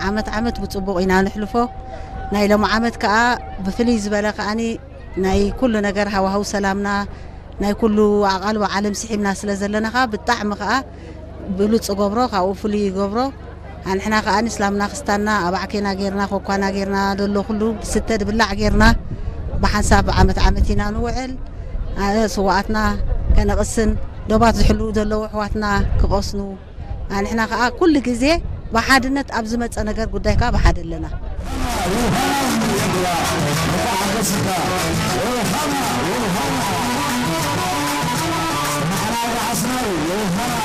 ዓመት ዓመት ብጽቡቕ ኢና ንሕልፎ። ናይ ሎሚ ዓመት ከኣ ብፍልይ ዝበለ ከኣኒ ናይ ኩሉ ነገር ሃዋህው ሰላምና ናይ ኩሉ ኣቓልቦ ዓለም ስሒብና ስለ ዘለና ከኣ ብጣዕሚ ከኣ ብሉጽ ገብሮ ካብኡ ፍሉይ ይገብሮ። ኣንሕና ከኣ ንስላምና ክስታና ኣባዕኬና ጌርና ኮኳና ጌርና ደሎ ኩሉ ስተ ድብላዕ ጌርና ብሓንሳብ ዓመት ዓመት ኢና ንውዕል። ኣነ ስዋኣትና ከነቕስን ዶባት ዝሕልዉ ዘለዉ ኣሕዋትና ክቐስኑ ኣንሕና ከኣ ኩሉ ግዜ ብሓድነት ኣብ ዝመጸ ነገር ጉዳይ ከኣ ብሓደ ኣለና።